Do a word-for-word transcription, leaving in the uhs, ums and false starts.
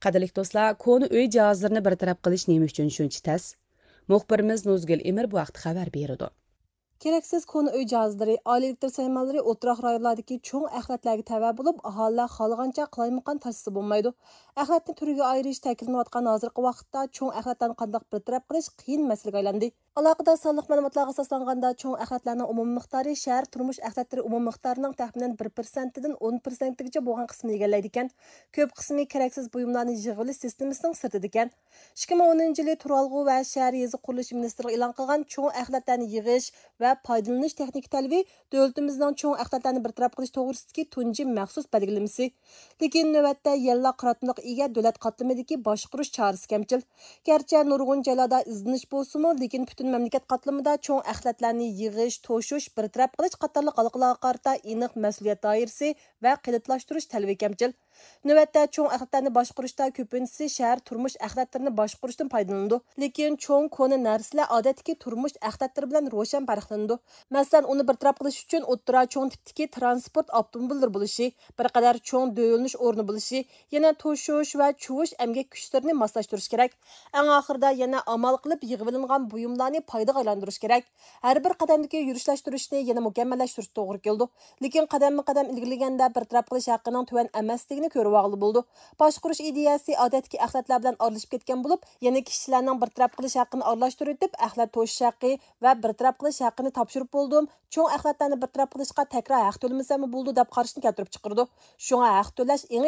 قەدىرلىك دوستلار، كونا ئۆي جاھازلىرىنى بىر تەرەپ قىلىش نېمە ئۈچۈن شۇنچە تەس؟ مۇخبىرىمىز نۇزگۈل ئىمىر بۇ ھەقتە خەۋەر بېرىدۇ. كېرەكسىز كونا ئۆي جاھازلىرى، ئائىلە ئېلېكتر سايمانلىرى ئولتۇراق رايونلاردىكى چوڭ ئەخلەتلەرگە تەۋە بولۇپ، ئاھالىلەر خالىغانچە قالايمىقان تاشلىسا بولمايدۇ. ئەخلەتنى تۈرگە ئايرىش تەكىتلىنىۋاتقان ھازىرقى ۋاقىتتا چوڭ ئەخلەتلەرنى قانداق بىر تەرەپ قىلىش قىيىن مەسىلىگە ئايلاندى. ئالاقىدار سانلىق مەلۇماتلارغا ئاساسلانغاندا، چوڭ ئەخلەتلەرنىڭ ئومۇمىي مىقدارى شەھەر تۇرمۇش ئەخلەتلىرى ئومۇمىي مىقدارىنىڭ تەخمىنەن بىر پىرسەنتتىن ئون پىرسەنتكىچە بولغان قىسمىنى ئىگىلەيدىكەن. كۆپ قىسمى كېرەكسىز بۇيۇملارنى يىغىۋېلىش سىستېمىسىنىڭ سىرتىدىكەن. ئىككى مىڭ ئونىنچى يىلى تۇرالغۇ ۋە شەھەر يېزا قۇرۇلۇشى مىنىستىرلىقى ئېلان قىلغان چوڭ ئەخلەتلەرنى يىغىش ۋە پايدىلىنىش تېخنىكا تەلىپى دۆلىتىمىزنىڭ چوڭ ئەخلەتلەرنى بىر تەرەپ قىلىش توغرىسىدىكى تۇنجى مەخسۇس بەلگىلىمىسى. لېكىن نۆۋەتتە يەنىلا قاراتمىلىققا ئىگە دۆلەت قاتلىمىدىكى باشقۇرۇش چارىسى كەمچىل. گەرچە نۇرغۇن جايلاردا ئىزدىنىش بولسىمۇ، لېكىن پۈتۈن مەملىكەت قاتلىمىدا چوڭ ئەخلەتلەرنى يىغىش، توشۇش، بىر تەرەپ قىلىش قاتارلىق ھالقىلارغا قارىتا ئېنىق مەسئۇلىيەت دائىرىسى ۋە قېلىپلاشتۇرۇش تەلىپى كەمچىل. نۆۋەتتە چوڭ ئەخلەتلەرنى باشقۇرۇشتا كۆپىنچىسى شەھەر تۇرمۇش ئەخلەتلىرىنى باشقۇرۇشتىن پايدىلىنىدۇ. لېكىن چوڭ كونا نەرسىلەر ئادەتتىكى تۇرمۇش ئەخلەتلىرى بىلەن روشەن پەرقلىنىدۇ. مەسىلەن، ئۇنى بىر تەرەپ قىلىش ئۈچۈن ئوتتۇرا چوڭ تىپتىكى تىرانسپورت ئاپتوموبىللىرى بولۇشى، بىر قەدەر چوڭ دۆۋىلىنىش ئورنى بولۇشى، يەنە توشۇش ۋە چۇۋۇش ئەمگەك كۈچلىرىنى ماسلاشتۇرۇش كېرەك. ئەڭ ئاخىرىدا يەنە ئامال قىلىپ يىغىۋېلىنغان بۇيۇملارنى پايدىغا ئايلاندۇرۇش كېرەك. ھەر بىر قەدەمدىكى يۈرۈشلەشتۈرۈشنى يەنە مۇكەممەللەشتۈرۈش توغرا كېلىدۇ. لېكىن قەدەممۇ قەدەم ئىلگىرىلىگەندە بىر تەرەپ قىلىش ھەققىنىڭ تۆۋەن ئەمەسلىكىنى كۆرۈۋالغىلى بولىدۇ. باشقۇرۇش ئىدىيەسى ئادەتتىكى ئەخلەتلەر بىلەن ئارىلىشىپ كەتكەن بولۇپ، يەنە كىشىلەرنىڭ بىر تەرەپ قىلىش ھەققىنى ئارىلاشتۇرۇۋېتىپ، ئەخلەت توشۇش ھەققى ۋە بىر تەرەپ قىلىش ھەققىنى تاپشۇرۇپ بولدۇم، چوڭ ئەخلەتلەرنى بىر تەرەپ قىلىشقا تەكرار ھەق تۆلىمىسەممۇ بولىدۇ دەپ قاراشنى كەلتۈرۈپ چىقىرىدۇ. شۇڭا ھەق تۆلەش ئېڭى